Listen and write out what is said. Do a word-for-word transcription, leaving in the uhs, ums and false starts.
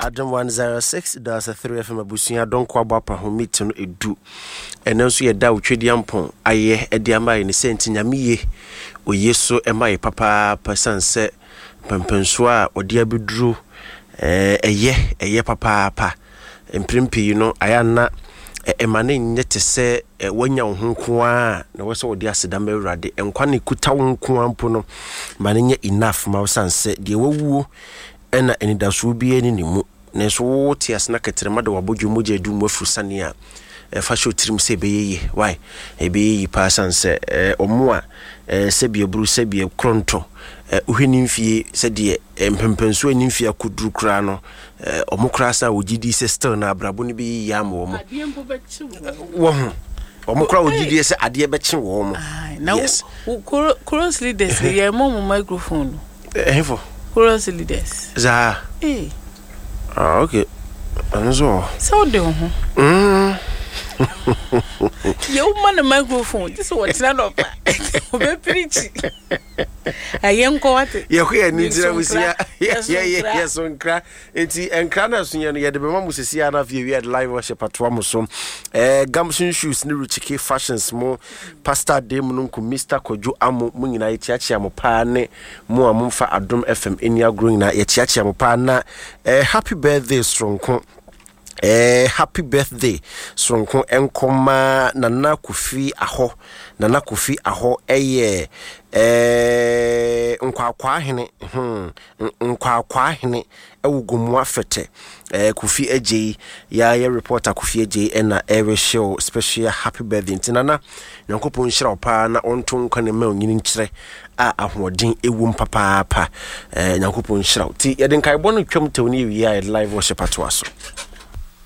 Adom one oh six point three F M abusua dɔnko abɔ apa ho meet no edu. Ɛno nso yɛda wo Twediampɔn ayɛ ɛde ama yɛ ne sɛ nti Nyame ye oye so ɛma yɛ papaapa, siane sɛ mpɛmpɛnsoɔ a ɔde abɛduro ɛyɛ ɛyɛ papaapa. Mprempren pii no ayɛ ana ɛma ne nyɛ te sɛ wanya wo ho nko a na wɔ sɛ wɔde aseda ma Awurade. Nkwa ne kuta wo nko a mpo no ma ne nyɛ enough ma wo, sane sɛ deɛ wawuo ɛna anidasoɔ biara ne ne mu, nanso wote ase na kɛtɛrɛma de wabɔdwe mogya adu mu afuru sane a ɛfa hyɛ otirim sɛ ɛbɛyɛ yie. Why ɛbɛyɛ yie paa? Sane sɛ ɔmo a sɛbi aburu, sɛbi korɔntɔ, wohwɛ ne mfie sɛdeɛ mpɛmpɛnsoɔ ne mfie akɔduru koraa no, ɔmo koraa sa wɔgye di sɛ still na abrabɔ no bɛyɛ yie ama wɔn. Wɔ ho ɔmo koraa wɔgye di sɛ adeɛ bɛkye wɔn mo. Yes, chorus leaders yɛ mɔ mo microphone no. Ɛhefo? Chorus leaders. Saa. Ee. Ah, okay, ɛno nso wɔ. Sɛ wode wo ho yɛ woma no microphone gye sɛ wɔtena dɔpa wɔbɛpirikyi ɛyɛ nkɔ wate. Yɛkɔ yɛ ni ntina busia yɛso nkra nti nkra no ɛso yɛ no yɛde bɛma mo sisi a na afei yɛde live worship atoa mo so. eh, Gamson Shoes ne Richike Fashions mo, Pastor Dem no nko, Mister Kwadwo Amo, mo nyinaa yɛkyeakyea mo paa, ne mo a momfa Adom F M ani agorɔ nyinaa yɛkyeakyea mo paa. Na eh, happy birthday soronko, eh, happy birthday soronko nkɔma Nana Kofi Ahɔ. Nana Kofi Ahɔ ɛyɛ eh, Nkwakwaa hene, hmm, Nkwakwaa hene ɛwɔ Gomoa Fɛtɛ. eh, Kofi Agyei, yɛayɛ reporter Kofi Agyei ɛna ɛrehyɛ special happy birthday. Nti Nana, Nyankopɔn nhyira wo paa na ɔnto nkwa ne ma onyini nkyerɛ a ahoɔden ɛwom papaapa. eh, nyankopɔn nhyira wo. Nti yɛde nkaebɔ no twam tɛw ne yɛwie a yɛde live worship atoa so.